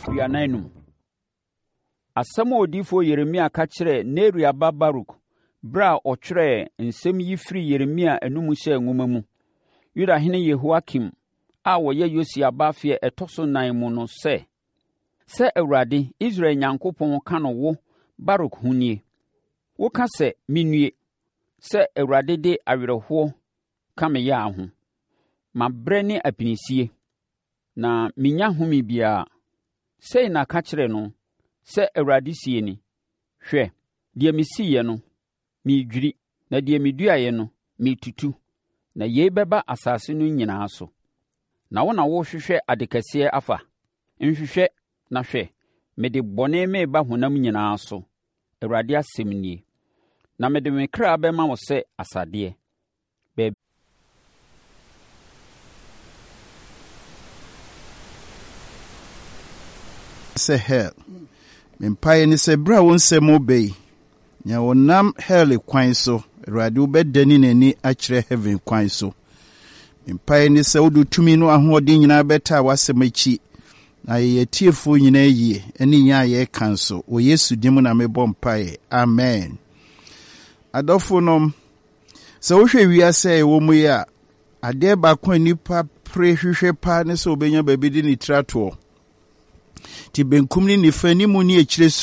45. Asɛm a odiyifoɔ Yeremia ka kyerɛɛ Neria ba Baruk berɛ a ɔtwerɛɛ nsɛm yi firii Yeremia anom hyɛɛ nwoma mu, Yudahene Yehoiakim a ɔyɛ Yosia ba afe a ɛtɔ so nnan mu no sɛ, Sɛ Awurade, Israel Nyankopɔn ka no wo, Baruk ho nie, Woka sɛ, 'Mennue, sɛ Awurade de awerɛhoɔ ka me yea ho. Mabrɛ ne apinisie, na mennya home biara. Sei na ka kyerɛ no, sɛ Awurade seɛ ni, Hwɛ, deɛ mesiiɛ no, meredwiri, na deɛ meduaeɛ no, meretutu, na yei bɛba asase no nyinaa so. Na wo na worehwehwɛ ade kɛseɛ afa? Nhwehwɛ, na hwɛ, mede bɔne mereba honam nyinaa so, Awurade asɛm nie, na mede me kra bɛma wo sɛ asadeɛ. Baabi. Sɛ hell. Me mpaeɛ ne sɛ berɛ a wo nsɛm reba yi, nea ɔnam hell kwan so, Awurade wobɛdane n'ani akyerɛ heaven kwan so. Me mpaeɛ ne sɛ wode tumi no ahoɔden nyinaa bɛtaa w'asɛm akyi na yɛyɛ atiefoɔ nyinaa yie ne yɛn a yɛreka nso. Wɔ Yesu din mu na mebɔ mpaeɛ. Amen. Adɔfonom, Sɛ wohwɛ wiase a yɛwɔ mu yi a, adeɛ baako a nnipa pere hwehwɛ paa ne sɛ wɔbɛnya baabi de ne tiri atoɔ. Nti benkum ne nifa, anim ne akyire.